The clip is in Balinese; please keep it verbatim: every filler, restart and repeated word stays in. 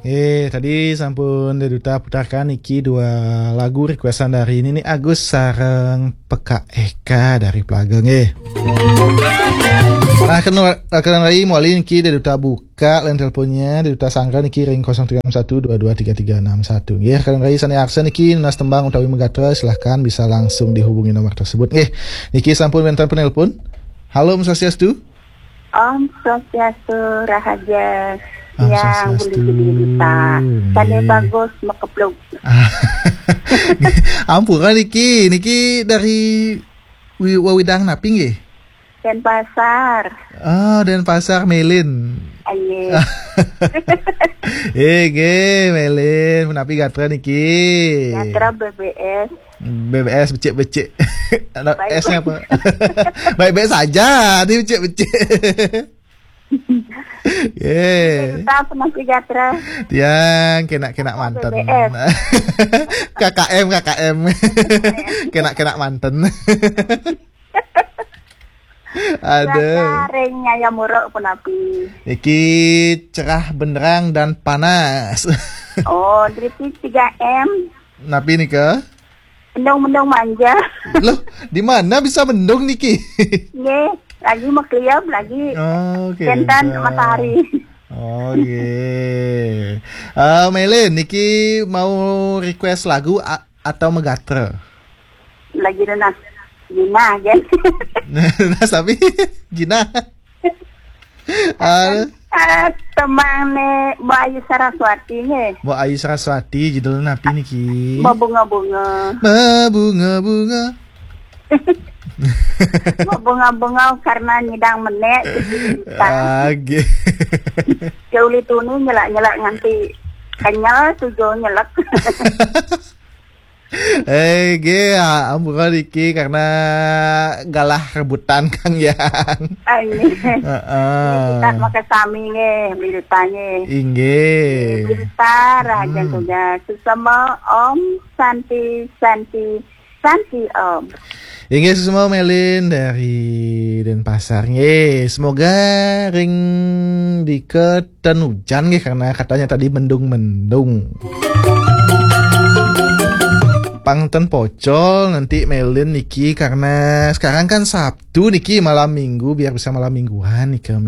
Eh, tadi sampun Dé Duta putarkan niki dua lagu requestan dari Nini Agus sareng Pekak Eka dari Plaga nggih. Nah, kena kena rai mawali niki Dé Duta buka line teleponnya, Dé Duta sangga niki ring kosong tiga enam satu dua dua tiga tiga enam satu. Nggih, kena rai sané arsa niki nunas tembang utawi megatra, silahkan bisa langsung dihubungi nomor tersebut. Nggih, niki sampun wénten penelpon. Halo, Om Swastiastu. Om Swastiastu, rahaja. Om Yang Swastiastu. Beli gede duta. Sané nggih. Bagus, mekepluk. Ampura niki, niki dari wi-, wewidang napi nggih? Denpasar. Ah, Denpasar, Melin. Aye. Eh, nggih, Melin, menapi gatra niki? Gatra B B S. B B S becik-becik. Anak baik. S-nya apa? Baik-baik saja, ini becik-becik. Ye. Tetap masih gatra. Tiang kena-kena manten. B B S. K K M, K K M. Kena-kena manten. Ada. Cuaca ring Nyaya Muruk punapi? Iki cerah benderang dan panas. Oh, dari tiga M. Napi nika? Mendung-mendung manja. Loh, di mana bisa mendung niki? Nggih, lagi makliam lagi. Oh, oke. Kénten matahari. Oh, nggih. Eh, Melin, niki mau request lagu a-, atau megatra? Lagi nunas Jinah, kan? Nunas tapi Jinah. Ah. Ah, tembang né Mbok Ayu Saraswati nggih. Mbok Ayu Saraswati, judulnya napi niki? Berbunga-bunga. Berbunga-bunga. Berbunga-bunga karena nyidang menék. Ah, nggih. Ya uli tuni nyelak-nyelak nganti kenyal tujuh nyelek. Eh, nggih, ya, ampura niki karena galah rebutan Kang Yang. Ah, nggih. Heeh. Kita makan sami nggih, berita nggih. Inggih. Berita rahaja. Hmm. Tugas. Sesama Om Santi, Santi, Santi Om. Inggih, sesama Melin dari Denpasar nggih. Semoga ring diketen hujan nggih, karena katanya tadi mendung-mendung. Pang ten pocol nanti Melin niki, karena sekarang kan Sabtu niki, malam minggu, biar bisa malam mingguan nika, Melin.